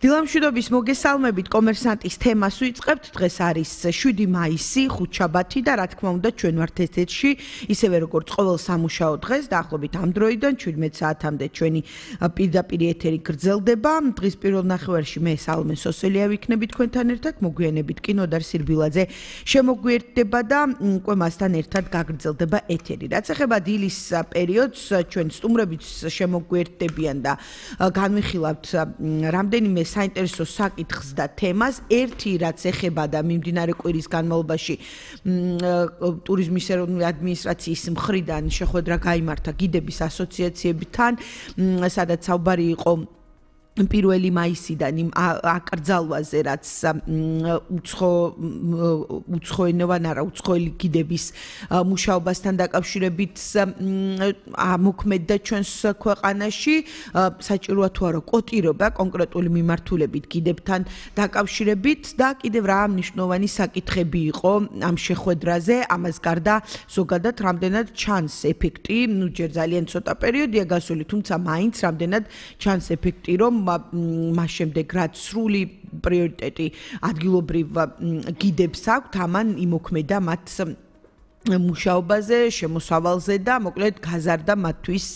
დილამშვიდობის მოგესალმებით კომერსანტის თემას ვიწყებთ. დღეს არის 7 მაისი, ხუთშაბათი და რა თქმა უნდა ჩვენ ვართ ეთერში, ისევე როგორც ყოველ სამუშაო დღეს, დაახლოებით ამ დროიდან 17 საათამდე ჩვენი პირდაპირ ეთერი გრძელდება. დღის პირველ ნახევარში მე სალმე სოსელია ვიქნები თქვენთან ერთად, მოგვიანებით კი ნოდარ სირბილაძე შემოგვიერთდება და უკვე მასთან ერთად გაგრძელდება ეთერი. რაც ეხება დილის პერიოდს, ჩვენ სტუმრებიც შემოგვიერთდებიან და განვიხილავთ რამდენიმე საინტერესო საკითხს და თემას. ერთი რაც ეხება და მიმდინარე კვირის განმავლობაში ტურიზმის ეროვნული ადმინისტრაციის მხრიდან შეხვედრა გაიმართა გიდების ასოციაციებთან, სადაც საუბარი იყო პირველი მაისიდან იმ აკრძალვაზე, რაც უცხოელი გიდების მუშაობასთან დაკავშირებით მოქმედდა ჩვენს ქვეყანაში. საჭიროა თუ არა კოტირება კონკრეტული მიმართულებით გიდებთან დაკავშირებით და კიდევ რა მნიშვნელოვანი საკითხები იყო ამ შეხვედრაზე. ამას გარდა ზოგადად რამდენად ჩანს ეფექტი, ჯერ ძალიან ცოტა პერიოდია გასული, თუმცა მაინც რამდენად ჩანს ეფექტი, რომ მას შემდეგ რაც სრული პრიორიტეტი ადგილობრივ გიდებს აქვთ, ამან იმოქმედა მათ მუშაობაზე, შემოსავალზე და მოკლედ გაზარდა მათთვის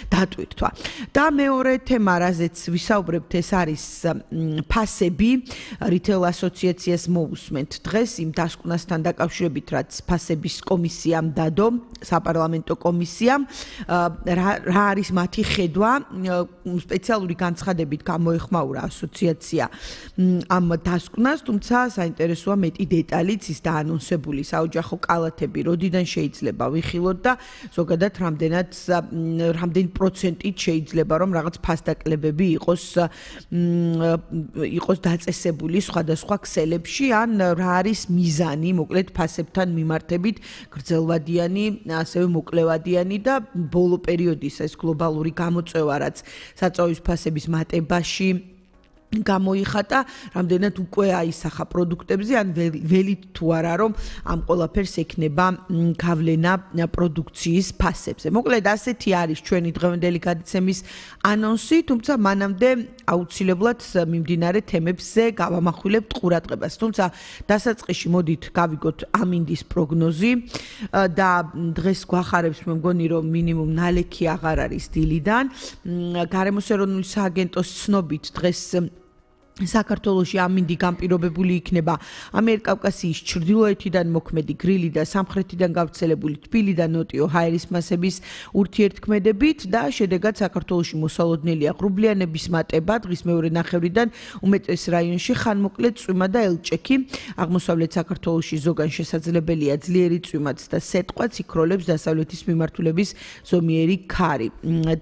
დატვირთვა. და მეორე თემა, რაზეც ვისაუბრებთ, ეს არის ფასები. რიტეილ ასოციაციას მოусმენთ დღეს იმ დასკვნასთან დაკავშირებით, რაც ფასების კომისიამ დადო, საპარლამენტო კომისიამ, რა არის მათი ხედვა. სპეციალური განცხადებით გამოეხმაურა ასოციაცია ამ დასკვნას, თუმცა საინტერესოა მეტი დეტალიც ის დაანონსებული საოჯახო კალათები როდიდან შეიძლება ვიხილოთ და ზოგადად რამდენი პროცენტით შეიძლება რომ რაღაც ფასდაკლებები იყოს დაწესებული სხვადასხვა ქსელებში, ან რა არის მიზანი, მოკლედ ფასებთან მიმართებით გრძელვადიანი, ასევე მოკლევადიანი და ბოლო პერიოდის ეს გლობალური გამოწვევა, რაც საწვავის ფასების მატებაში გამოიხატა, რამდენად უკვე აისახა პროდუქტებზე, ან ველით თუ არა რომ ამ ყველაფერს ექნება გავლენა პროდუქციის ფასებზე. მოკლედ ასეთი არის ჩვენი დღევანდელი გადაცემის ანონსი, თუმცა მანამდე აუცილებლად მიმდინარე თემებზე გავამახვილებთ ყურადღებას. თუმცა დასაწყისში მოდით გავიგოთ ამინდის პროგნოზი და დღეს გვახარებს მე მგონი რომ მინიმუმ ნალექი აღარ არის დილიდან. გარემოს ეროვნული სააგენტოს ცნობით დღეს საქართველოში ამინდი განპირობებული იქნება ამიერკავკასიის ჩრდილოეთიდან მოქმედი გრილი და სამხრეთიდან გავრცელებული თბილი და ნოტიო ჰაერის მასების ურთიერთქმედებით და შედეგად საქართველოში მოსალოდნელია ღრუბლიანების მატება. დღის მეორე ნახევრიდან უმეტეს რაიონში ხანმოკლე წვიმა და ელჭექი. აღმოსავლეთ საქართველოში ზოგან შესაძლებელია ძლიერი წვიმაც და სეტყვაც, იქროლებს დასავლეთის მიმართულების ზომიერი ქარი.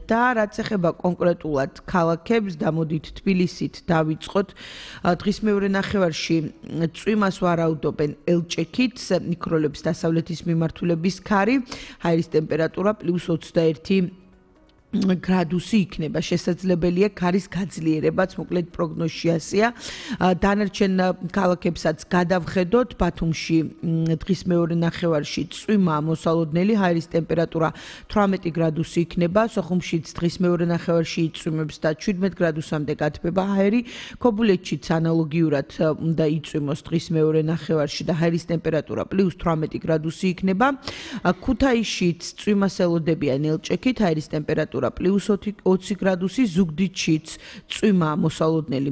და რაც ეხება კონკრეტულად ქალაქებს, დამოდით თბილისით დავიწყოთ. დღის მეორე ნახევარში წვიმას ვარაუდობენ ელჭექით, იქროლებს დასავლეთის მიმართულების ქარი, ჰაერის ტემპერატურა +21 გრადუსი იქნება. შესაძლებელია ქარის გაძლიერებაც, მოკლედ პროგნოზში ასეა. დანარჩენ ქალაქებსაც გადავხედოთ. ბათუმში დღის მეორე ნახევარში წვიმა მოსალოდნელი, ჰაერის ტემპერატურა 18 გრადუსი იქნება. სოხუმშიც დღის მეორე ნახევარში იწვიმებს და 17 გრადუსამდე გათბება ჰაერი. ქობულეთშიც ანალოგიურად უნდა იწვიმოს დღის მეორე ნახევარში და ჰაერის ტემპერატურა +18 გრადუსი იქნება. ქუთაისშიც წვიმას ელოდებიან ელჭექით, ჰაერის ტემპერატურა +20 გრადუსი, ზუგდიდშიც წვიმა მოსალოდნელი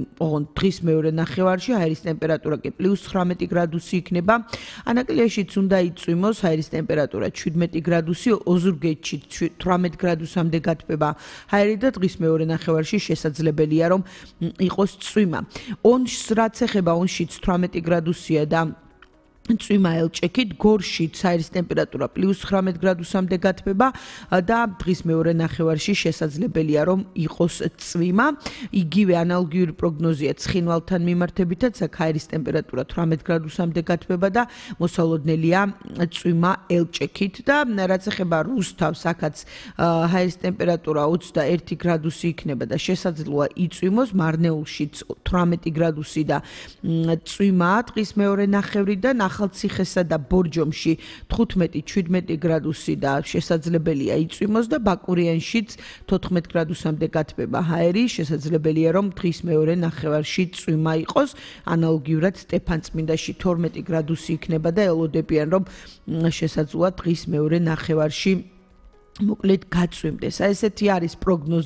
დღის მეორე ნახევარში, ჰაერის ტემპერატურა კი +19 გრადუსი იქნება. ანაკლიაშიც უნდა იწვიმოს, ჰაერის ტემპერატურა 17 გრადუსი, ოზურგეთში 18 გრადუსამდე გათბება ჰაერი და დღის მეორე ნახევარში შესაძლებელია რომ იყოს წვიმა. ონშს რაც ეხება, ონშიც 18 გრადუსია და წვიმა ელჭექით, გორშიც ჰაერის ტემპერატურა +19 გრადუსამდე გათბება და დღის მეორე ნახევარში შესაძლებელია რომ იყოს წვიმა. იგივე ანალოგიური პროგნოზია ცხინვალთან მიმართებითაც, აქ ჰაერის ტემპერატურა 18 გრადუსამდე გათბება და მოსალოდნელია წვიმა ელჭექით და რაც ეხება რუსთავს, აქაც ჰაერის ტემპერატურა 21 გრადუსი იქნება და შესაძლოა იწვიმოს. მარნეულშიც 18 გრადუსი და წვიმა დღის მეორე ნახევრიდან. ახალციხესა და ბორჯომში 15-17 გრადუსი და შესაძლებელია იწვიმოს და ბაკურიანშიც 14 გრადუსამდე გათბება ჰაერი, შესაძლებელია რომ დღის მეორე ნახევარში წვიმა იყოს, ანალოგიურად სტეფანწმინდაში 12 გრადუსი იქნება და ელოდებიან რომ შესაძლოა დღის მეორე ნახევარში მოკლედ გაწვიმდეს. ესეთი არის პროგნოზი